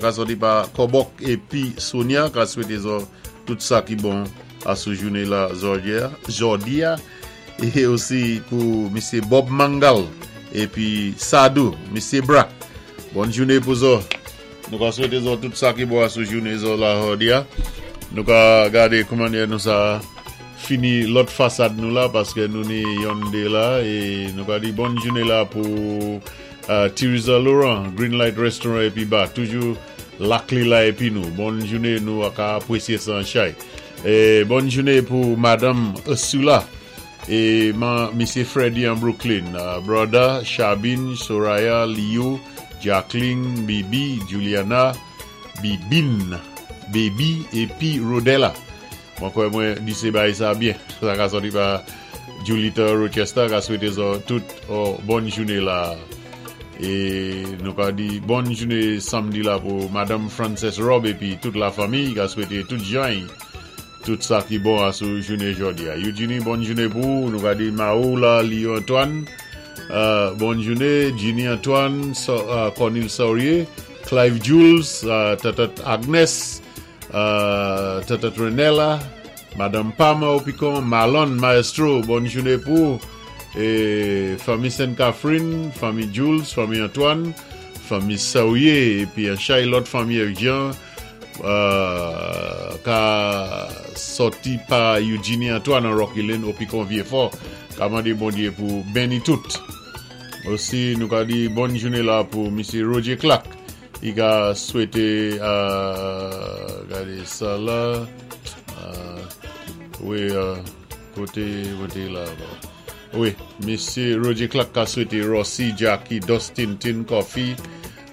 Ka sòti pa Kobok épi Sonia ka swété zò tout sa ki bon asou jouné la jòdi-a é osi pou Misyé Bob Mangal épi Sadou, Misyé Bra. Bòn jouné pou zò. Nou ka swété zò tout sa ki bon asou jouné zò la jòdi-a. Nou ka gadé koumannyè nou sa fini lòt fasad nou la paské nou ni yonn dé la é nou ka di bòn jouné la pou Tiriza Laurent, Green Light Restaurant épi Bar, toujou lak li la épi nou. Bòn jouné, nou ka apwésyé sa an chay. É bòn jouné pou Madanm Ursula é man Misyé Freddy an Brooklyn, Brother Chabine, Soraya, Leo, Jacqueline, Bibi, Juliana, Bibine, Baby épi Rodella. Mwen kwè mwen di sé bagay sa byen. Sa ka sòti pa Julita Rochester ka swété zò tout bòn jouné la. É nou ka di bòn jouné samdi la pou Madanm Frances Rob épi tout la fanmiy ka swété tout jany tout sa ki bon asou jouné jòdi a. Eugenie, bòn jouné pou ou. Nou ka di Mao la, Leo Antoine, bòn jouné, Ginny Antoine, Cornil Saurier, Clive Jules, Tatat Agnes, Tatat Renella, Madanm Pam Opicon, Marlon Maestro, bòn jouné pou ou. É fanmi Sainte Catherine, fanmi Jules, fanmi Antoine, fanmi Saurier épi an chay lòt fanmi Jean ka sòti pa Eugenie Antoine an Rocky Lane, Opicon Vieux-Fort, ka mandé Bondyé pou benni tout. Osi nou ka di bòn jouné la pou Misyé Roger Clark i ka swété, gadé sa la, wi, koté mwen té la, wi, Misyé Roger Clark ka swété Rossi, Jackie, Dustin, Tin Coffee,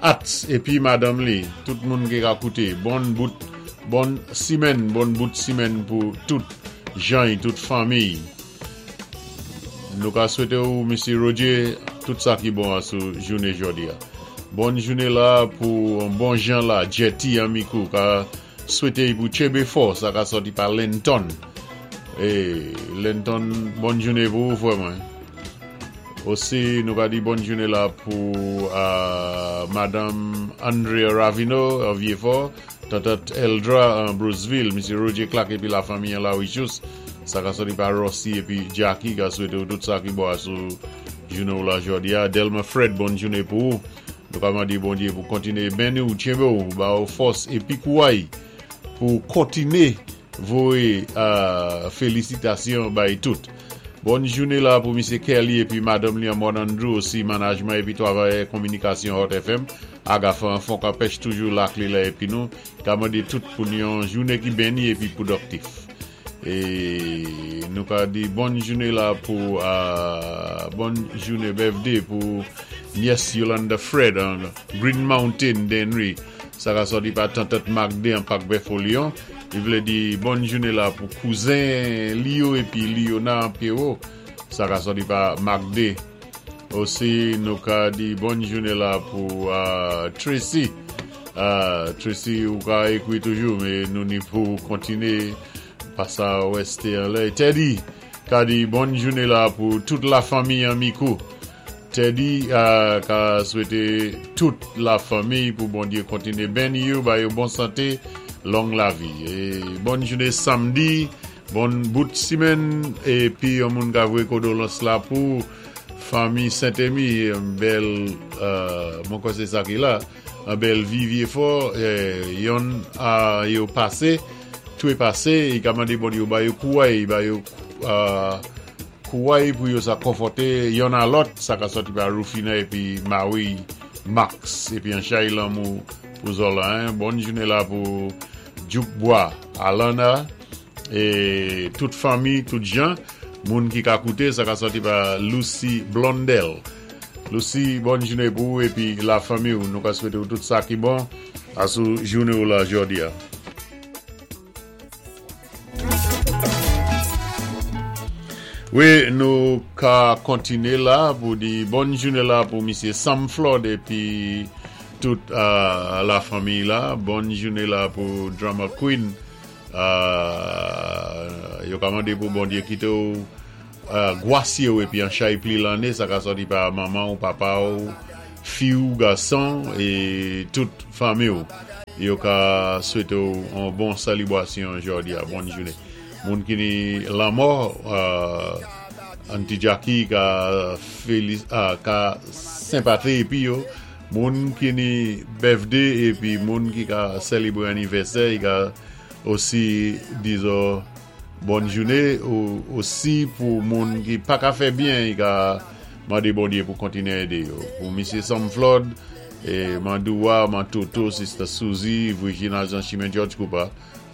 Ats épi madanm li, tout moun ki ka kouté, bòn bout bòn simèn, bòn bout simèn pou tout jany, tout fanmiy. Nou ka swété ou, Misyé Roger, tout sa ki bon asou jouné jòdi-a. Bòn jouné la pou an bon jan la, Jetty an Mikou ka swété pou tchenbé fò, sa ka sòti pa Lenton. É Lenton, bòn jouné pou ou, fwè mwen. Osi nou ka di bòn jouné la pou Madanm Andrea Ravino an Vieux-Fort, Tatat Eldra an Bruceville, Misyé Roger Clark épi la fanmiy an La Richous. Sa ka sòti pa Rossi épi Jackie ka swété ou tout sa ki bon asou jouné ou la jòdi-a. Delma Fred, bòn jouné pou ou. Nou ka mandé Bondyé pou kontiné benni ou, tchenbé ou, ba ou fòs épi kouway pou kontiné voyé félisitasyon bay tout. Bòn jouné la pou Misyé Kelly épi madanm li an Mòn Andrew, osi manajman épi twavayè konminikasyon Hot FM, Agafan Fonkanpèch toujou lak li la épi nou ka mandé tout pou yon jouné ki benni épi pwodòktif. É nou ka di bòn jouné la pou bòn jouné birthday pou nyès Yolanda Fred an Green Mountain Dennery. Sa ka sòti pa Tantant Magde an Pak Bèfo Lyon. Li vlé di bòn jouné la pou kouzen li yo épi Liona an Pero. Sa ka sòti pa Magde. Osi nou ka di bòn jouné la pou Tracy. Tracy, ou ka ékwi toujou, mé nou ni pou kontiné pa sa wèsté anlè. Teddy ka di bòn jouné la pou tout la fanmiy an Mikou. Teddy ka swété tout la fanmiy pou Bondyé kontiné benni yo, ba yo bon santé, long lavi. É bòn jouné samdi, bon bout simèn épi yon moun ka voyé kondolans la pou fanmi Saint-Emy, yon bèl, mwen kwè sé sa ki la, an bèl vi Vieux-Fort, yonn yo pasé, toué pasé, i ka mandé Bondyé ba yo kouway, ba yo kouway pou yo sa konfòté yonn a lòt, sa ka sòti pa Rufina épi Marie Max épi an chay lanmou pou zò la, hein. Bòn jouné la pou Djouk Bwa, Alana é tout fanmi, tout jan moun ki ka kouté, sa ka sòti pa Lucy Blondel. Lucy, bòn jouné pou ou épi la fanmi ou. Nou ka swété ou tout sa ki bon asou jouné ou la jòdi-a. Wi, nou ka kontiné la pou di bòn jouné la pou Misyé Sam Flood épi tout la fanmiy la. Bòn jouné la pou Drama Queen. Yo ka mandé pou Bondyé kité ou gwasye ou épi an chay pli lanné, sa ka sòti pa manman ou, papa ou, fi ou, gason é tout fanmi ou. Yo ka swété ou an bon sélibwasyon jòdi a, bòn jouné. Moun ki ni lanmò, Aunty Jackie ka féli ka senpati épi yo. Moun ki ni birthday épi moun ki ka sèlibré anivèsè, i ka osi di zò bòn jouné. Ou osi pou moun ki pa ka fè byen, i ka mandé Bondyé pou kontiné édé yo. Pou Misye Sam Flood, e Man Douwa, Man Toto, Sister Suzy, Virginia Jean Chimen George Cooper,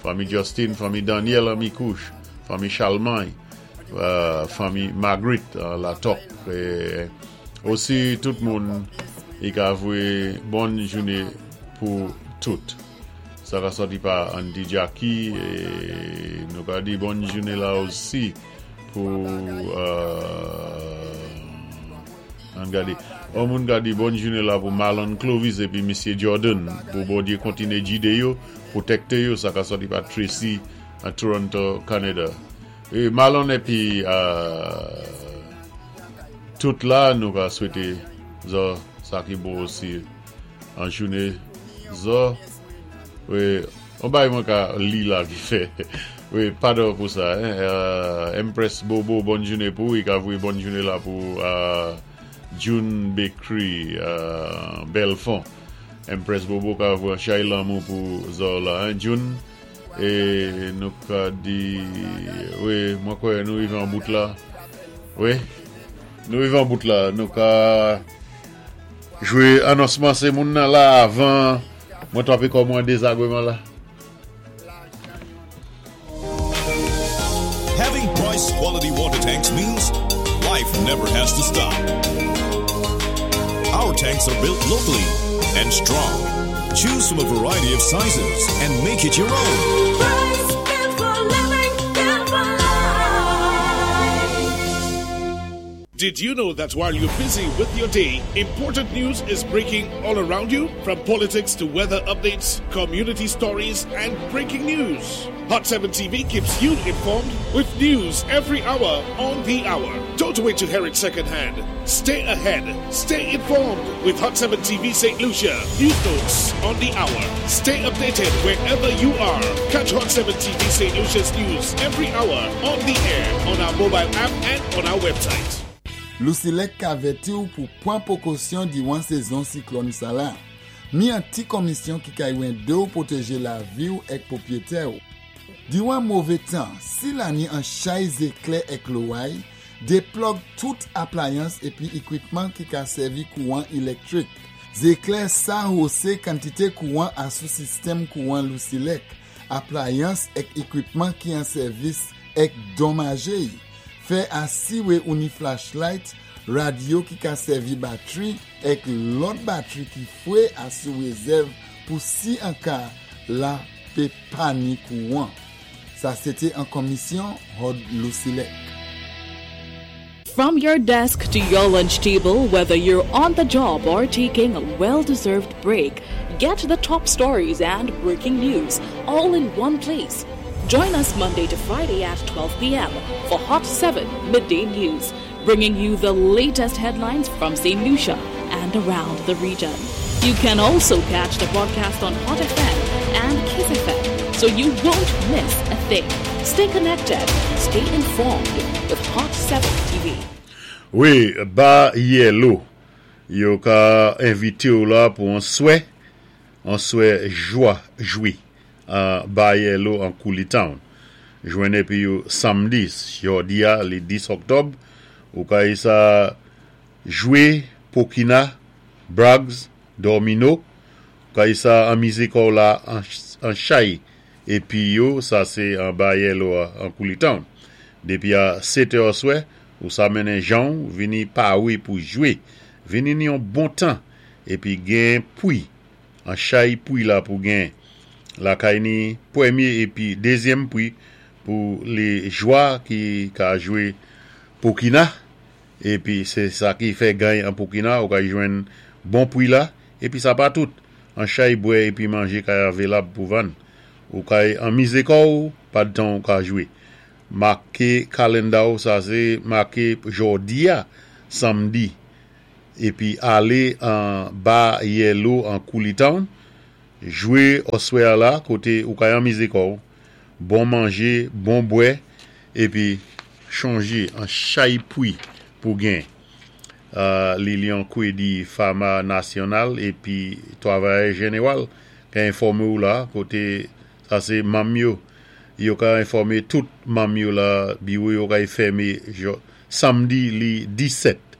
fanmi Justin, fanmi Daniel an Mikouch, fanmi Chalmany, fanmi Marguerite an Latòk. E osi tout moun i ka vwe bòn joune pou tout. Sa ka sòti pa Aunty Jackie e nou ka di bòn joune la osi pou Ann gade. On moun ka di bòn jounen la pou Marlon Clovis epi Misye Jordan. Pou Bondye kontine gide yo, pwotekte yo, sa ka sòti pa Tracy a Toronto, Canada. E Marlon epi tout la nou ka swete zò sa ki bon osi an joune zò. Wi. On bagay mwen ka li la ki fè wi padon pou sa Empress Bobo bòn joune pou ou i ka voye bòn joune la pou June Bakery Belfon Empress Bobo ka voye an chay lanmou pou zò la hein June e nou ka di wi mwen kwè nou rive an bout la wi nou rive an bout la nou ka jwe anonsman se moun nan la avan Mwen twape kò mwen dezagreman la. Having Price quality water tanks means life never has to stop. Our tanks are built locally and strong. Choose from a variety of sizes and make it your own. Price, built for living, built for life. Did you know that while you're busy with your day, important news is breaking all around you? From politics to weather updates, community stories, and breaking news. Hot 7 TV keeps you informed with news every hour on the hour. Don't wait to hear it secondhand. Stay ahead. Stay informed with Hot 7 TV St. Lucia. News notes on the hour. Stay updated wherever you are. Catch Hot 7 TV St. Lucia's news every hour on the air on our mobile app and on our website. Lusilec ka avèti ou pou pwan pwokosyon diwan sezon siklòn sa la. Mi an ti komisyon ki kay wende ou pwoteje lavi ou èk pwopyetè ou. Diwan move tan, si la ni an chay zeklè èk loway, deplòg tout aplayans epi ikwipman ki ka sèvi kouwan ilèktrik. Zeklè sa hose kantite kouwan asou sistèm kouwan Lusilec, aplayans èk ikwipman ki an sèvis èk donmaje y. Fè asiwe ou ni flashlight, radyo ki ka sèvi batri èk lòt batri ki fwe asou rezèv pou si an ka la pe pa ni kouwan. Sa sete an komisyon Hod Lusilec. From your desk to your lunch table, whether you're on the job or taking a well deserved break, get the top stories and breaking news all in one place. Join us Monday to Friday at 12 p.m. for Hot 7 Midday News, bringing you the latest headlines from St. Lucia and around the region. You can also catch the broadcast on Hot FM and Kiss FM, so you won't miss a thing. Stay connected, stay informed with Hot 7 TV. Wi, Ba Yellow. Yo ka envite w la pou an swè, an swè jwa, jwi, an Ba Yellow an Cooley Town. Jwenn epi yo samdi, jòdi a, le 10 oktòb, ou ka e sa jwe pokina, brags, dòmino, ou ka e sa anmize kò w la an chay Epi yo, sa se anba Yellow a, an Cooley Town. Depi a setè oswè, ou sa mennen jan w vini pare pou jwe. Vini ni yon bon tan. Epi gen pwi. An chay pwi la pou gen. Lakay ni premye epi dezyèm pwi pou le jwa ki ka jwe pokina. Epi se sa ki fè gany an pokina, ou ka jwenn bon pwi la. Epi sa pa tout. An chay bwè epi manje kay avelab pou vann. Ou kay anmize kò w padtan w ka jwe. Make kalenda w sa se make jòdi a samdi epi ale an ba Yellow an Cooley Town. Jwé oswè-a la koté ou kay anmizé kò'w, bon manjé, bon bwè, épi chonjé an chay pwi pou gen Lilian Kwedi Fama Nasyonal épi Twavayè Jenewal ka enfòmé-w la koté sa sé manm yo yo ka enfòmé tout manm yo la biwo yo kay fèmé samdi li 17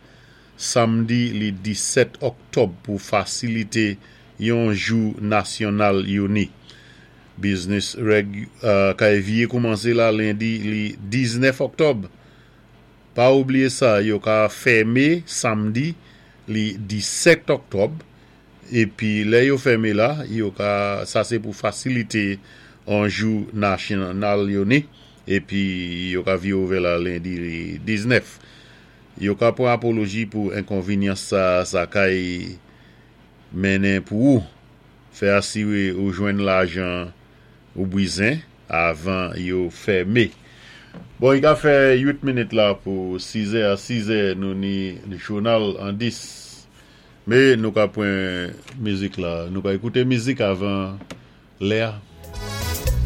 samdi li 17 òktòb pou fasilité yon jou nasyonal yo ni. Biznis règ kay vyé koumansé la lendi li 19 òktòb. Pa oubliyé sa yo ka fèmé samdi li 17 òktòb épi lè yo fèmé la yo ka sa sé pou fasilité on jou nasyonal yo ni épi yo ka vyé ouvè la lendi li 19. Yo ka pran apoloji pou enkonvinyans sa sa kay mennen pou ou. Fè asiré ou jwenn lajan ou bwizen avan yo fème. Bon, i ka fè 8 minit la pou 6 è. A 6 è nou ni jounal an 10. Mé nou ka pran mizik la. Nou ka ékouté mizik avan lè a.